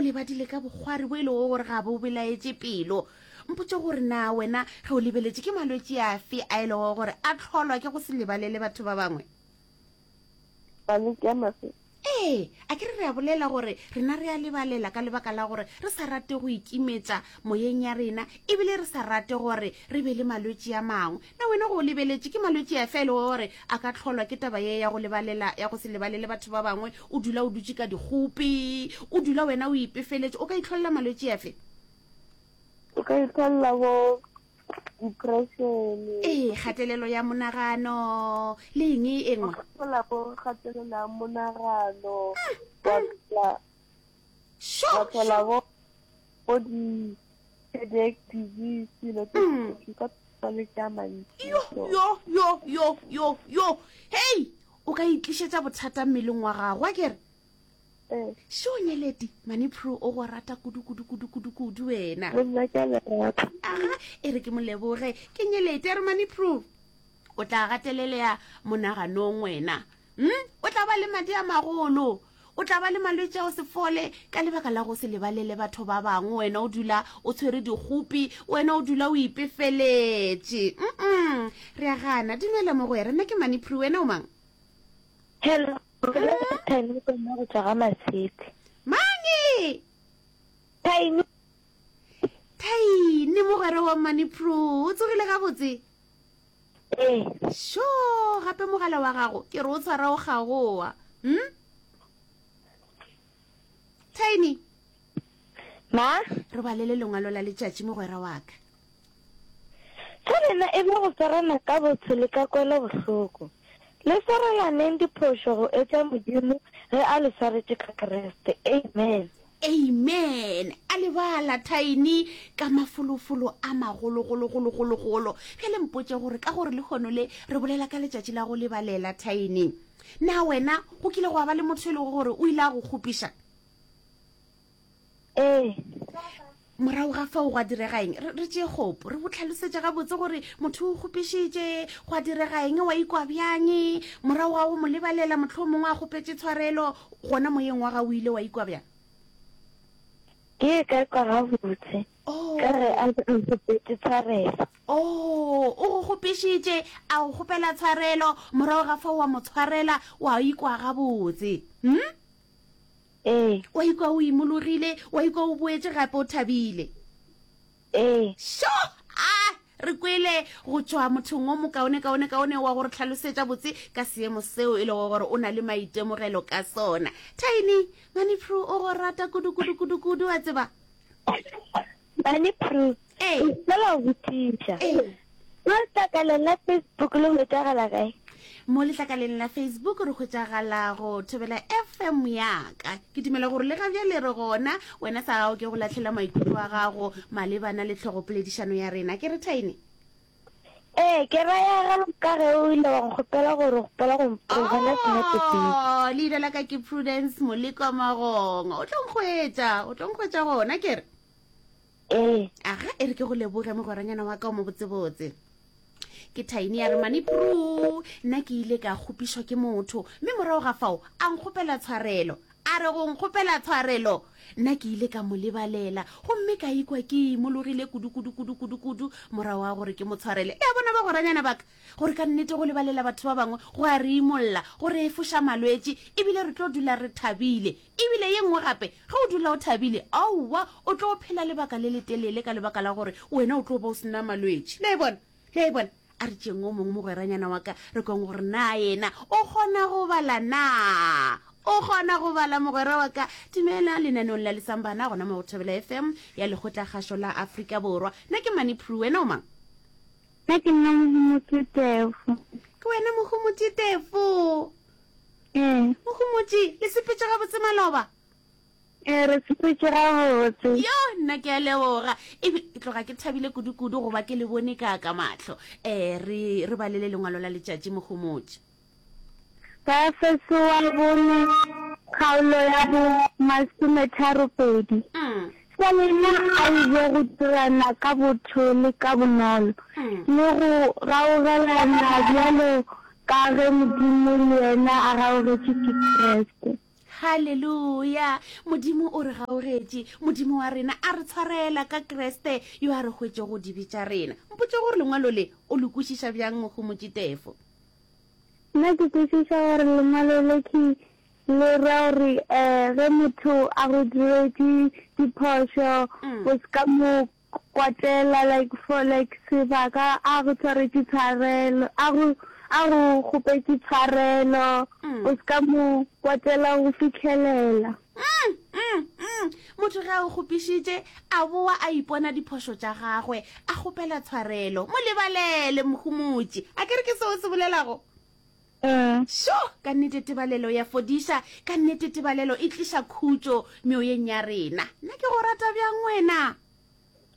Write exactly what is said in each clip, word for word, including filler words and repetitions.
le badile ka bokgwari bo e lego gore ga bo belaetše pelo. Mpotše gore na wena ge o lebeletše ke malwetši afe a e lego gore a hlolwa ke go se lebalele batho ba bangwe? Malwetši a mafe? Ee, a ke re re a bolela gore rena re a lebalela ka lebaka la gore re sa rate go ikimetša moyeng ya rena ebile re sa rate gore re be le malwetši a mangwe. Na wena go o lebeletše ke malwetši afe a e lego gore a ka hlolwa ke taba ye ya go lebalela, ya go se lebalele batho ba bangwe? O dula o dutše ka dikgopi, o dula wena o ipefeletše, o ka itlholela malwetši afe? O ka itlholela bo depression. Ee, kgatelelo ya monagano le eng e nngwe? O ka thola bo kgatelelo ya monagano, wa thola, Sho, wa thola sho. bo bo di cardiac disease, dilo tse Mm. di ka malwetši a mantši. Yo, So, yo, yo, yo, yo, yo. Hei, o ka itlišetša bothata mmeleng wa gago, a ke re? eh, Sho, Nyeleti, Manipro o go rata kudu, kudu, kudu, kudu, kudu wena. le nna ke a le rata. Aga, e re ke mo leboge. Ke Nyeleti, a re Manipro, o tla gatelelea monaganong wena. Hmm? O tla ba le madi a magolo. O tla ba le malwetši a go se fole ka lebaka la go se lebalele batho ba bangwe. Wena o dula o tshwere dikgopi, wena o dula o ipefeletše. Mm-mm. Re a gana. Dumela mogwera, nna ke Manipro, wena o mang? Hello, Tiny Kona go tšwa ga Masete. Mange! Tiny, Tiny mogwera wa Manipro, o tsogile gabotse? ee, Sho, gape mogala wa gago ke re o tshwara o gagoa. Hm? Tiny, ma, re balele lengwalo la letšatši mogwera wa ka. sa lena e be go swarana ka botho le ka kwelo bohloko. Le swarelaneng diphošo go etša Modimo ge a le swaretše ka Kriste. Amen. Amen. A lebala Tiny ka mafolofolo a magologologologologolo. Bjale mpotše gore ka gore lehono le re bolela ka letšatši la go lebalela Tiny. Na wena go kile gwa ba le motho e lego gore o ile a go kgopiša? Ee, Morago ga fao gwa direga eng? Re, re tšee kgopo, re bo tlhalosetše gabotse gore motho o kgopišitše, gwa direga eng, wa ikwa bjang? Morago ga go mo lebalela mohlomongwe a kgopetše tshwarelo, gona moyeng wa gago o ile wa ikwa bjang? ke ka kwa gabotse ka ge Oh, a a nkgopetše tshwarelo. oh, o go kgopišitše, a go kgopela tshwarelo, morago ga fao wa mo tshwarela, wa ikwa gabotse. Hm? Ee, Wa ikwa o imologile, wa ikwa o boetše gape o thabile. ee, Sho! A re kwele go tšwa mothong o mokaone kaone kaone wa gore tlhalosetša botse ka seemo seo e lego gore o na le maitemogelo ka sona. Tiny, Manipro o go rata kudu kudu kudu kudu wa tseba. Manipro, Ee, ke fela go botšiša. ee. Mo letlakaleng la Facebook le hwetšagala kae? Mo letlakaleng la Facebook re hwetšagala go Thobela F M ya ka. Ke dumela gore le ga bjale re gona, wena sa gago ke go lahlela maikutlo a gago malebana le tlhogopoledišano ya rena. Ke re Tiny? Ee, ke raya ga ka ge o ile wa nkgopela gore o kgopela go go bona senepe pele. Oh, leina la ka ke Prudence Moleko Magongo. O tlo nkgwetša, o tlo nkgwetša gona ke re. Ee. Aga, e re ke go leboge mogweranyana wa ka o mo botsebotse. Ke Tiny ya re Manipro, nna ke ile ka kgopišwa ke motho, mme morago ga fao a nkgopela tshwarelo. A re go nkgopela tshwarelo, nna ke ile ka mo lebalela, gomme ka ikwa ke imologile kudu kudu kudu kudu kudu morago ga gore ke mo tshwarele. Le a bona bagweranyana ba ka, gore ka nnete go lebalela batho ba bangwe go a re imolla, go re efoša malwetši, ebile re tlo dula re thabile. Ebile ye nngwe gape, ge o dula o thabile, aowa, o tlo phela lebaka le letelele ka lebaka la gore wena o tlo ba o sena malwetši. Le a e bona? Le a e bona? A re tšeng o mongwe mogweranyana wa ka, re kweng gore na yena o kgona go bala na? O kgona go bala mogwera wa ka. Dumela lenaneong la Lesambana gona mo go Thobela F M ya Lekgotlakgašo la Afrika Borwa. Nna ke Manipro, wena o mang? Nna ke nna Mohomotši Tefo. Ke wena Mohomotši Tefo? Ee. Mohomotši, le sepetše gabotse maloba? Ee, re sepetše gabotse. Yo, nna ke a leboga. Ebe ke tloga ke thabile kudu-kudu goba ke le bone ka ka mahlo. Eh, re, re balele lengwalo la letšatši Mohomotši. Baefeso wa bone kgaolo ya bo masometharo pedi. Mm. Sa lena a e be go dirana ka botho le ka bonolo, Mm. le go gaugelana bjalo ka ge Modimo le yena a gaugetše ke Kriste. Haleluya! Modimo o re gaugetše, Modimo wa rena a re tshwarela ka Kriste yo a re hwetšego dibe tša rena. Mpotše gore lengwalo le o le kwešiša bjang, Mohumotši Tefo? Nna ke kwešiša gore lengwalo le ke le ra gore um ge motho a go diretše diphošo, o se ka mo kwatela like for like sebaka a go tshwaretše tshwarelo a go a go kgopetše tshwarelo mm. o se ka mo kwatela go fitlhelela mm, mm, mm. motho ge a o kgopišitše a boa a ipona diphošo tša gagwe a kgopela tshwarelo mo lebalele mohumotši a ke re ke seo se bolelago mm. Šo, ka nnete tebalelo ya fodiša, ka nnete tebalelo e tliša khutšo meoyeng ya rena. Nna ke go rata bjang wena?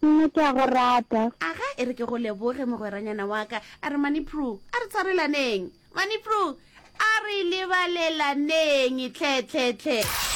Nna ke a go rata. Aga, e re ke go leboge mogweranyana wa ka. A re Manipru, a re tshwarelaneng. Manipru, a re lebalelaneng, tlhe, tlhe, tlhe.